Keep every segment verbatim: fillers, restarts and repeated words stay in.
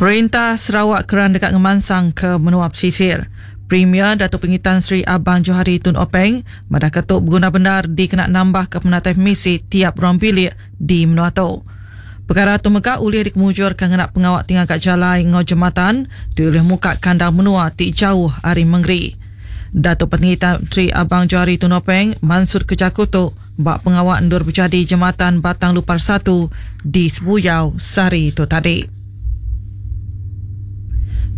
Perintah Sarawak keran deka ngemansang ke menua pesisir. Premier Datuk Patinggi Tan Sri Abang Johari Tun Openg madah ke tu beguna bendar dikena nambah ke penatai pemisi tiap ruang bilik di menua tu. Pekara tu mega ulih dikemujurka ngena pengawa ti ngaga jalai enggau jematan ti ulih muka kandang menua ti jauh ari mengeri. Datuk Patinggi Tan Sri Abang Johari Tun Openg mansutka jaku tu ba pengawa endur bejadi Jematan Batang Lupar satu di Sebuyau sehari tu tadi.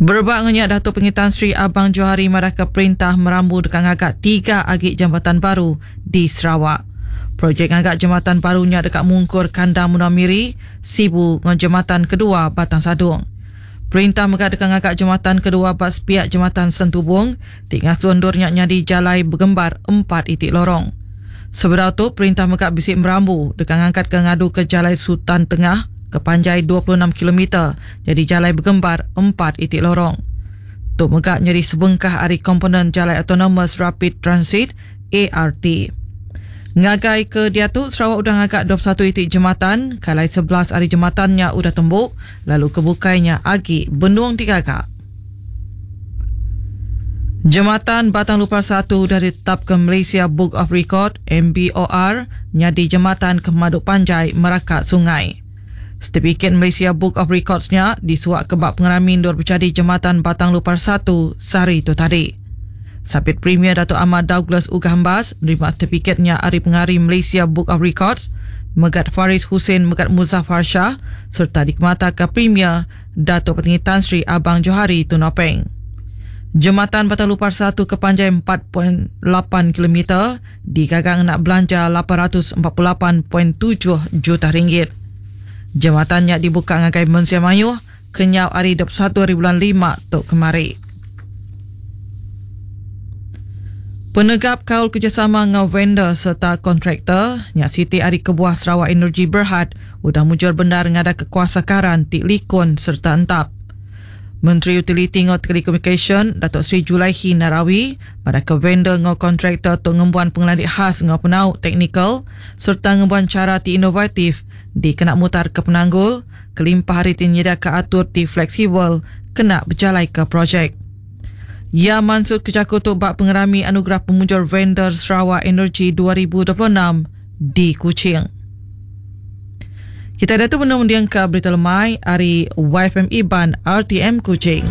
Berebak enggau nya, Datuk Patinggi Tan Sri Abang Johari madahka perintah merambu deka ngaga tiga agi jambatan baru di Sarawak. Projek ngaga jematan baru nya deka mungkur kandang menua Miri, Sibu enggau jematan kedua Batang Sadong. Perintah mega deka ngaga jematan kedua ba sepiak Jematan Sentubong ti ngasuh endur nya nyadi jalai begembar empat iti lorong. Sebedau tu, perintah mega bisi merambu deka ngangkatka ngaduka Jalai Sultan Tengah ke panjai dua puluh enam kilometer nyadi jalai begembar empat iti lorong. Tu mega nyadi sebengkah ari komponen Jalai Autonomous Rapid Transit, A R T. Ngagai ke diatu, Sarawak udah ngaga dua puluh satu iti jematan, kalai sebelas ari jematan nya udah tembu, lalu kebukai nya agi benung digaga. Jematan Batang Lupar satu udah ditetapka Malaysia Book of Record M B O R nyadi jematan ke pemadu panjai meraka sungai. Setipikit Malaysia Book of Records nya disuak ke bak pengerami endur bejadi Jematan Batang Lupar satu sehari tu tadi. Sapit Premier Datuk Amar Douglas Uggah Embas nerima setipikit nya ari pengari Malaysia Book of Records, Megat Faris Hussein Megat Muzaffar Shah serta dikemataka Premier Datuk Patinggi Tan Sri Abang Johari Tun Openg. Jematan Batang Lupar satu ke panjai empat perpuluhan lapan kilometer digaga ngena belanja lapan ratus empat puluh lapan perpuluhan tujuh juta ringgit. Jematan nya dibuka ngagai Mensia Mayuh kenyau hari dua puluh satu hari bulan lima tu kemari. Penegap kaul kerjasama enggau vendor serta kontraktor nya siti ari kebuah Sarawak Energy Berhad udah mujur bendar ngada kekuasa karan ti likun serta entap. Menteri Utiliti enggau Telekomunikasyen Datuk Seri Julaihi Narawi pada ke vendor enggau kontraktor tu ngembuan pengelandik khas enggau penau teknikal serta ngembuan cara ti inovatif dikena mutar ke penanggul kelimpah hari ti nyediaka atur ti fleksibel kena berjalai ke projek. Ia mansut kejaku tu bak pengerami anugerah pemujur vendor Sarawak Energy dua ribu dua puluh enam di Kuching. Kita dah tu benar mendiang ke berita lemai hari Y F M Iban R T M Kuching.